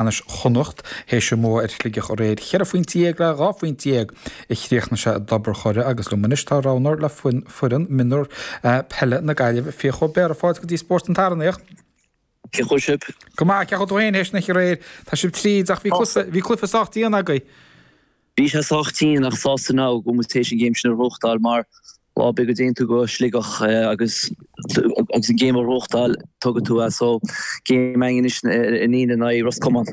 Ceannais Chonnacht théis a mbua ar Shligeach aréir, 14 phointe le 12 phointe a chríochnaigh sé i dTobar Chorra agus liom anois tá roghnóir le foireann mionúr peile na Gaillimhe, Fiach Ó Béarra. Fáilte go dtí Spórt an tSathairn, a Fhiach. Cén chaoi sibh? Go maith, cén chaoi tú féin théis an oíche aréir? Tá sibh tríd ach bhí cluiche, bhí cluiche sách dian agaibh. Bhí sé sách dian ach sásta now go bhfuil muid théis an game sin a ghnóthachtáil mar lá ar bith go dtéann tú go Sligeach agus agus an game a ghnóthachtáil tógfaidh tú é so game againn anois ar an Aoine in aghaidh Ros Comáin.